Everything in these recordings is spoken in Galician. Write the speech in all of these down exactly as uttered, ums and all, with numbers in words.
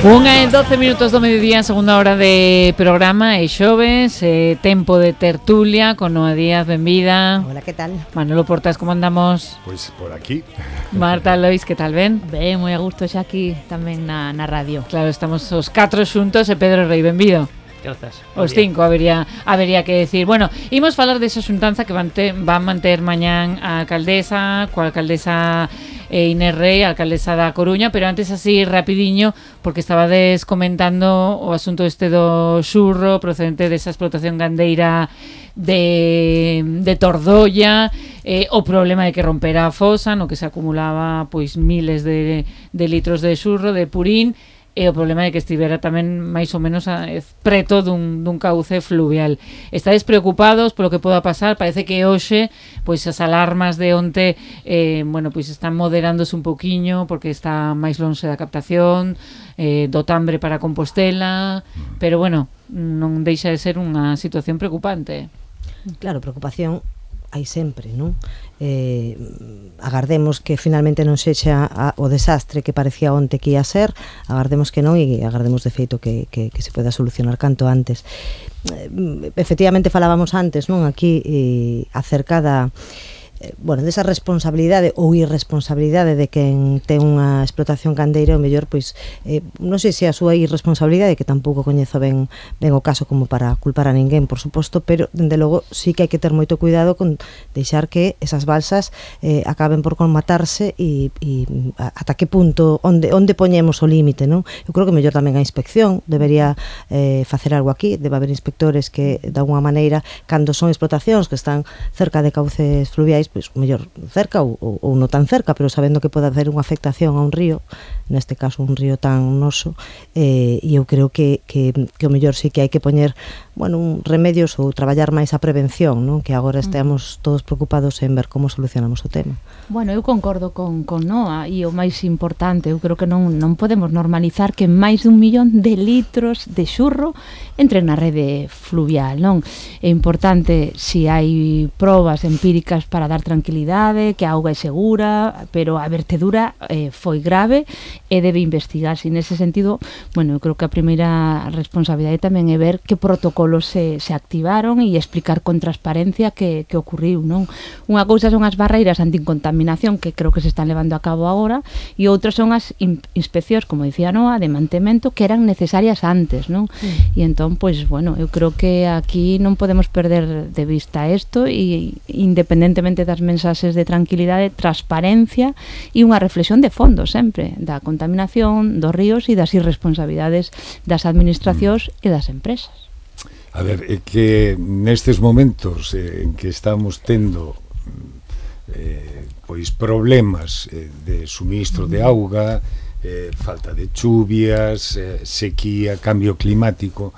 Unha e doce minutos do mediodía, segunda hora de programa, e xoves, eh, tempo de tertulia con Noa Díaz, benvida. Hola, que tal? Manolo Portas, como andamos? Pois por aquí. Marta Lois, que tal, ben? Ben, moi a gusto xa aquí tamén na, na radio. Claro, estamos os catro xuntos e Pedro Rei, benvido. Grazas. Os cinco, habería, habería que decir. Bueno, imos falar desa xuntanza que van, te, van manter mañán a alcaldesa, coa alcaldesa eh, Inés Rei, a alcaldesa da Coruña, pero antes así rapidiño, porque estabades comentando o asunto este do xurro procedente desa explotación gandeira de, de Tordolla, eh, o problema de que rompera a fosa, no que se acumulaba pois miles de, de litros de xurro, de purín, e o problema de que estivera tamén máis ou menos a, preto dun, dun cauce fluvial. Estades preocupados polo que poda pasar? Parece que hoxe pois as alarmas de onte eh, bueno, pois están moderándose un poquiño porque está máis lonxe da captación eh, do Tambre para Compostela, pero bueno, non deixa de ser unha situación preocupante. Claro, preocupación hai sempre, non? Eh, agardemos que finalmente non sexa a, o desastre que parecía onte que ia ser, agardemos que non e agardemos de feito que, que, que se poda solucionar canto antes. Eh, efectivamente falábamos antes, non? Aquí eh, acerca da eh, bueno, desa responsabilidade ou irresponsabilidade de quen ten unha explotación gandeira, o mellor, pois, eh, non sei se a súa irresponsabilidade, que tampouco coñezo ben, ben o caso como para culpar a ninguén, por suposto, pero, dende logo, sí que hai que ter moito cuidado con deixar que esas balsas eh, acaben por colmatarse e, e ata que punto, onde, onde poñemos o límite, non? Eu creo que mellor tamén a inspección debería eh, facer algo aquí, debe haber inspectores que, de alguma maneira, cando son explotacións que están cerca de cauces fluviais, pois mellor cerca ou, ou, ou non tan cerca, pero sabendo que pode haber unha afectación a un río, neste caso un río tan noso, eh, e eu creo que, que, que o mellor sí que hai que poñer, bueno, un remedios ou traballar máis a prevención, non? Que agora estemos todos preocupados en ver como solucionamos o tema. Bueno, eu concordo con, con Noa, e o máis importante, eu creo que non, non podemos normalizar que máis dun millón de litros de xurro entren na rede fluvial, non? É importante se hai probas empíricas para dar tranquilidade, que a auga é segura, pero a vertedura eh, foi grave e debe investigarse. Nese sentido, bueno, eu creo que a primeira responsabilidade tamén é ver que protocolos se, se activaron e explicar con transparencia que, que ocurriu, non? Unha cousa son as barreiras anticontaminación que creo que se están levando a cabo agora, e outras son as in, inspeccións, como dicía Noa, de mantemento que eran necesarias antes, non? Mm. E entón, pois, bueno, eu creo que aquí non podemos perder de vista isto, e independentemente das mensaxes de tranquilidade, transparencia e unha reflexión de fondo sempre da contaminación dos ríos e das irresponsabilidades das administracións e das empresas. A ver, é que nestes momentos eh, en que estamos tendo eh, pois problemas eh, de suministro de auga, eh, falta de chuvias, eh, sequía, cambio climático,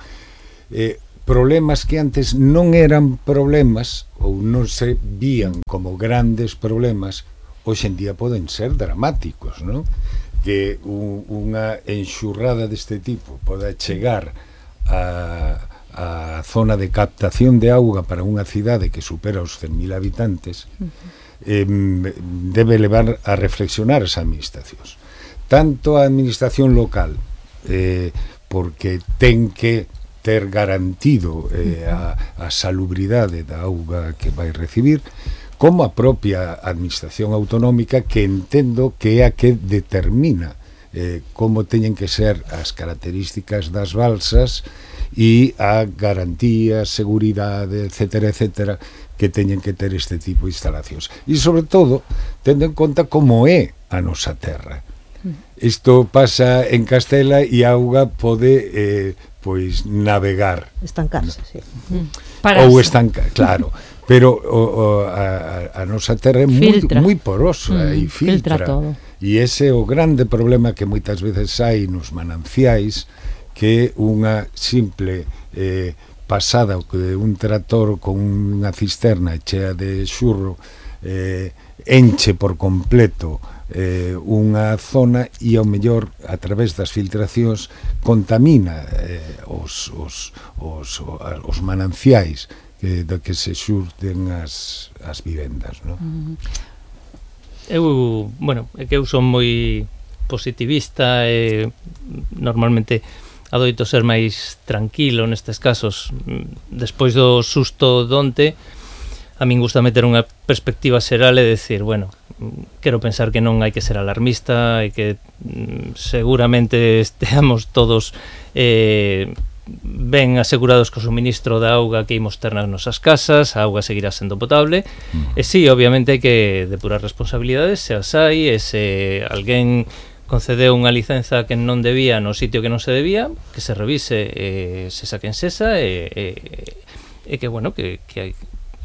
eh, problemas que antes non eran problemas ou non se vían como grandes problemas, hoxe en día poden ser dramáticos, non? Que un, unha enxurrada deste tipo poda chegar a, a zona de captación de auga para unha cidade que supera os cen mil habitantes, eh, debe levar a reflexionar as administracións. Tanto a administración local, eh, porque ten que ter garantido eh, a, a salubridade da auga que vai recibir, como a propia administración autonómica, que entendo que é a que determina eh, como teñen que ser as características das balsas e a garantía, seguridade, etcétera, etcétera, que teñen que ter este tipo de instalacións. E, sobre todo, tendo en conta como é a nosa terra. Isto pasa en Castela e a auga pode eh, pois navegar, estancarse, sí. Para ou estancar, claro, pero o, o, a, a nosa terra é moi, moi porosa mm, e filtra, filtra todo. E ese é o grande problema que moitas veces hai nos mananciais, que unha simple eh, pasada de un tractor con unha cisterna chea de xurro eh, enche por completo eh, unha zona e ao mellor a través das filtracións contamina eh, os, os, os, os mananciais que, do que se xurden as, as vivendas, non? Eu, bueno, é que eu son moi positivista e normalmente adoito ser máis tranquilo nestes casos. Despois do susto donte, a min gusta meter unha perspectiva xeral e decir, bueno, quero pensar que non hai que ser alarmista e que mm, seguramente esteamos todos eh, ben asegurados co suministro da auga que imos ter nas nosas casas, a auga seguirá sendo potable, mm. e sí, obviamente hai que depurar responsabilidades, se as hai, e se alguén concedeu unha licenza que non debía no sitio que non se debía, que se revise, eh, se saquen sesa, e, e, e que, bueno, que, que hai,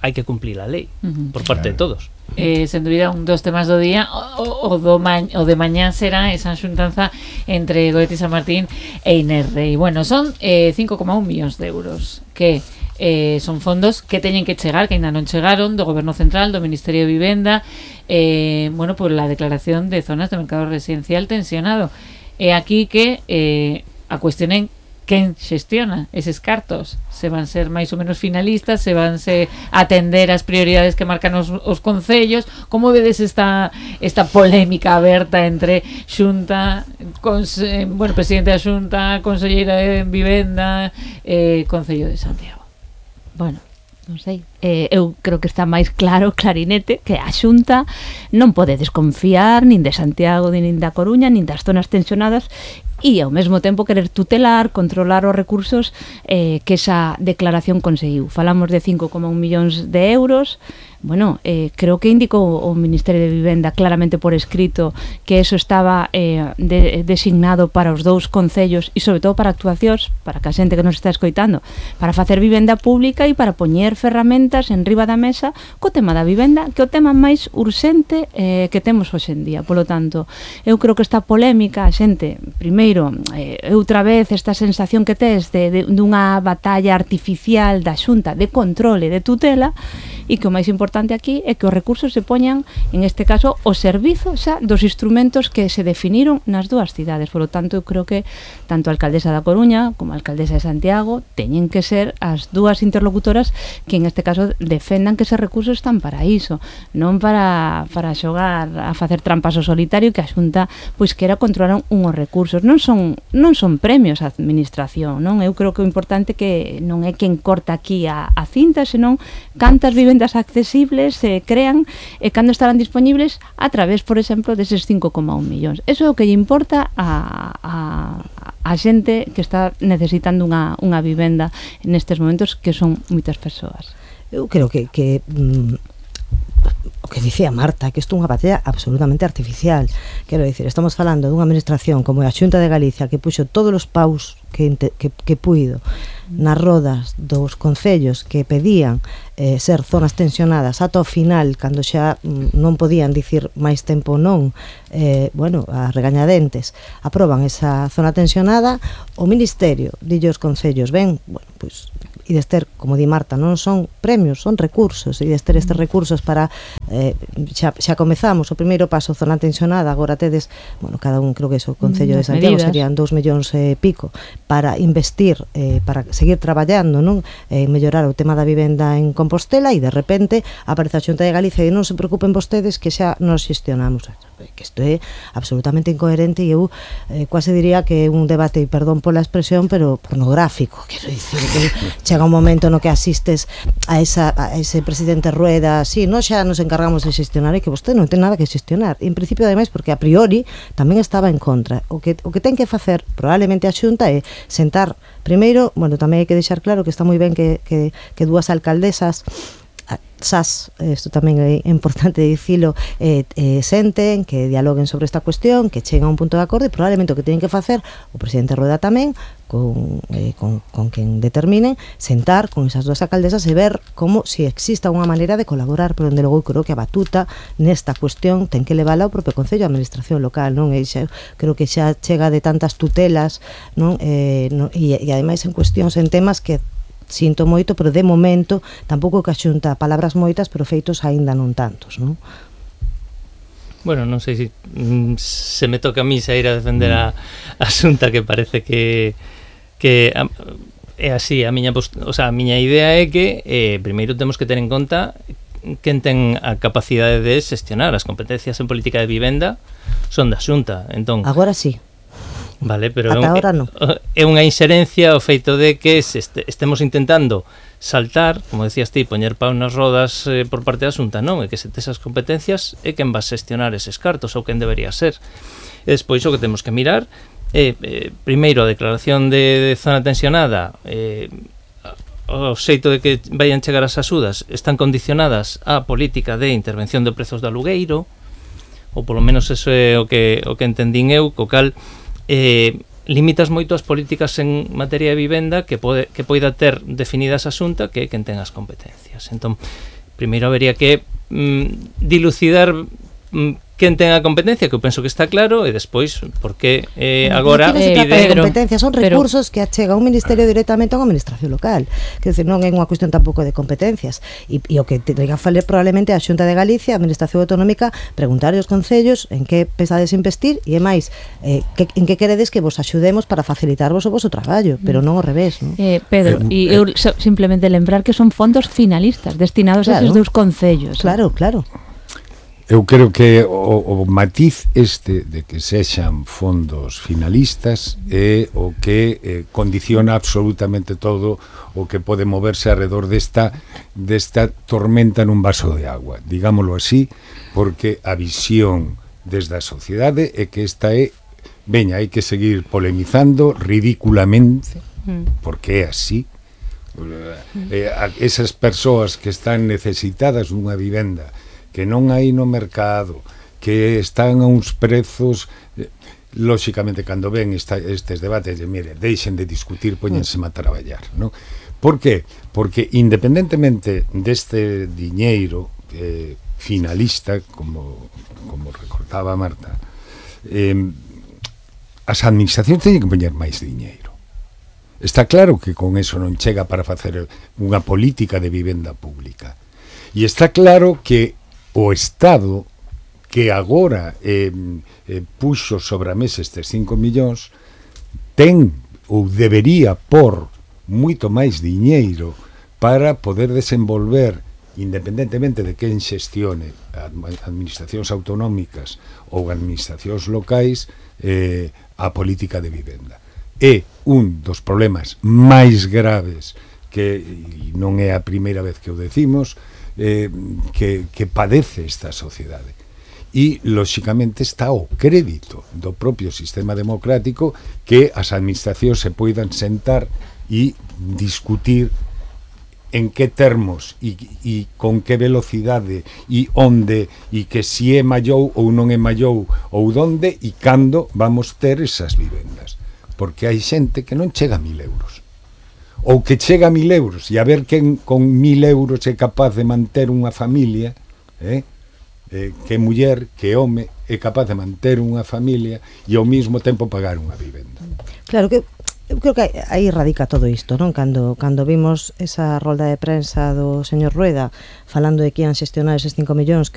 hai que cumplir a lei uh-huh. por parte de todos. Eh, sen dúbida, un dos temas do día o, o, do ma o de mañán será esa xuntanza entre Goete San Martín e Inerrei. Bueno, son eh, cinco coma un millóns de euros que eh, son fondos que teñen que chegar, que ainda non chegaron, do Goberno Central, do Ministerio de Vivenda, eh, bueno, por la declaración de zonas de mercado residencial tensionado. E aquí que eh, a cuestión en quen xestiona eses cartos, se van ser máis ou menos finalistas, se van se atender as prioridades que marcan os, os concellos. Como vedes esta esta polémica aberta entre Xunta, cons, eh, bueno, presidente da Xunta, conselleira de Vivenda, eh, Concello de Santiago? Bueno, non sei, eh, eu creo que está máis claro, clarinete, que a Xunta non pode desconfiar nin de Santiago, nin da Coruña, nin das zonas tensionadas, e ao mesmo tempo querer tutelar, controlar os recursos eh, que esa declaración conseguiu. Falamos de cinco coma un millóns de euros. Bueno, eh, creo que indicou o Ministerio de Vivenda claramente por escrito que eso estaba eh, de, designado para os dous concellos e sobre todo para actuacións, para que a xente que nos está escoitando, para facer vivenda pública e para poñer ferramentas en riba da mesa co tema da vivenda, que é o tema máis urxente eh, que temos hoxe en día. Polo tanto, eu creo que esta polémica, a xente, primeiro, eh, outra vez esta sensación que tes de, de, dunha batalla artificial da Xunta de controle, de tutela, e que o máis importante aquí é que os recursos se poñan, en este caso, o servizo xa dos instrumentos que se definiron nas dúas cidades. Por lo tanto, eu creo que tanto a alcaldesa da Coruña como a alcaldesa de Santiago teñen que ser as dúas interlocutoras que en este caso defendan que eses recursos están para iso, non para, para xogar a facer trampas ao solitario, que a Xunta pois quera controlar unhos recursos. Non son, non son premios a administración, non? Eu creo que o importante que non é quen corta aquí a, a cinta, senón cantas vivendas accesibles se crean e cando estarán disponibles a través, por exemplo, deses cinco coma un millóns. Eso é o que lle importa a, a, a xente que está necesitando unha, unha vivenda nestes momentos, que son moitas persoas. Eu creo que, que mm, o que dicía Marta, que isto é unha batalla absolutamente artificial. Quero dicir, estamos falando dunha administración como a Xunta de Galicia, que puxo todos os paus que, que, que puido nas rodas dos concellos que pedían eh, ser zonas tensionadas ata o final, cando xa mm, non podían dicir máis tempo non, eh, bueno, a regañadentes aproban esa zona tensionada. O Ministerio dille aos concellos, ben, bueno, pois e dester, como di Marta, non son premios, son recursos, e dester estes recursos para eh, xa, xa comezamos o primeiro paso, zona tensionada, agora tedes, bueno, cada un, creo que eso, o Concello de Santiago medidas. Serían dous millóns e eh, pico para investir, eh, para seguir traballando, non, eh, mellorar o tema da vivenda en Compostela, e de repente aparece a Xunta de Galicia e non se preocupen vostedes que xa nos xestionamos. Que isto é absolutamente incoherente, e eu eh, quase diría que é un debate, e perdón pola expresión, pero pornográfico. Quero dicir que chega un momento no que asistes a, esa, a ese presidente Rueda, sí, nós xa nos encargamos de xestionar, e que vostede non ten nada que xestionar. En principio, ademais, porque a priori tamén estaba en contra. O que, o que ten que facer probablemente a Xunta é sentar primeiro, bueno, tamén hai que deixar claro que está moi ben que, que, que dúas alcaldesas Sas, isto tamén é importante dicilo, eh, eh, senten, que dialoguen sobre esta cuestión, que cheguen a un punto de acordo, e probablemente o que teñen que facer o presidente Rueda tamén, con, eh, con, con quen determinen, sentar con esas dúas alcaldesas e ver como se si exista unha maneira de colaborar, pero onde logo creo que a batuta nesta cuestión ten que levala o propio Concello, a administración local, non? E xa, creo que xa chega de tantas tutelas, non? Eh, non? E, e ademais en cuestións, en temas que sinto moito, pero de momento tampouco que a Xunta, palabras moitas, pero feitos aínda non tantos, non? Bueno, non sei se mm, se me toca a mí sair a defender a, a Xunta, que parece que que a, é así, a miña post, o sea, a miña idea é que eh, primeiro temos que ter en conta quen ten a capacidade de xestionar as competencias en política de vivenda son da Xunta. Entón, agora sí. Vale, pero ata agora non. É unha inxerencia o feito de que se este, estemos intentando saltar, como decías ti, poñer pau nas rodas eh, por parte da Xunta, non, é que se tes as competencias é quen va a xestionar eses cartos ou quen debería ser. E despois o que temos que mirar é, eh, primeiro, a declaración de, de zona tensionada, eh, o xeito de que vayan chegar as axudas están condicionadas á política de intervención de prezos do alugueiro, ou polo menos eso é o que, o que entendín eu, co cal eh, limitas moito as políticas en materia de vivenda que pode que poida ter definidas a Xunta, que é quen ten as competencias. Entón, primeiro habería que mm, dilucidar mm, quen ten a competencia, que eu penso que está claro, e despois, porque eh, agora non se trata pide... de competencias, son recursos pero... que achega un ministerio directamente a unha administración local, que decir, non é unha cuestión tampouco de competencias, e, e o que teria que falar probablemente a Xunta de Galicia, a administración autonómica, preguntar aos concellos en que pensades investir, e é máis, eh, que, en que queredes que vos axudemos para facilitarvos o voso traballo, pero non ao revés, non? Eh, Pedro, e eh, eu so, simplemente lembrar que son fondos finalistas destinados claro, a esos dous concellos. Claro, claro. Eu creo que o, o matiz este de que sexan fondos finalistas é o que eh, condiciona absolutamente todo o que pode moverse alrededor desta, desta tormenta nun vaso de agua, digámoslo así, porque a visión desde a sociedade é que esta é, veña, hai que seguir polemizando ridículamente, porque é así. Eh, esas persoas que están necesitadas dunha vivenda que non hai no mercado, que están a uns prezos, eh, lóxicamente, cando ven esta, estes debates, de, mire, deixen de discutir, póñense a traballar, non? Por que? Porque independentemente deste diñeiro eh, finalista, como, como recordaba Marta, eh, as administracións teñen que poñer máis diñeiro. Está claro que con eso non chega para facer unha política de vivenda pública. E está claro que o Estado, que agora eh, eh, puxo sobre a mesa estes cinco millóns, ten ou debería por moito máis diñeiro para poder desenvolver, independentemente de quen xestione administracións autonómicas ou administracións locais, eh, a política de vivenda. É un dos problemas máis graves que, e non é a primeira vez que o decimos, Eh, que, que padece esta sociedade, e lóxicamente está o crédito do propio sistema democrático que as administracións se poidan sentar e discutir en que termos e, e con que velocidade e onde, e que si é mallou ou non é mallou ou donde e cando vamos ter esas vivendas, porque hai xente que non chega a mil euros, ou que chega a mil euros, e a ver quen con mil euros é capaz de manter unha familia, eh? Eh, que muller, que home é capaz de manter unha familia e ao mesmo tempo pagar unha vivenda. Claro que eu creo que aí radica todo isto, non? Cando, cando vimos esa rolda de prensa do señor Rueda falando de que ian xestionar eses cinco millóns,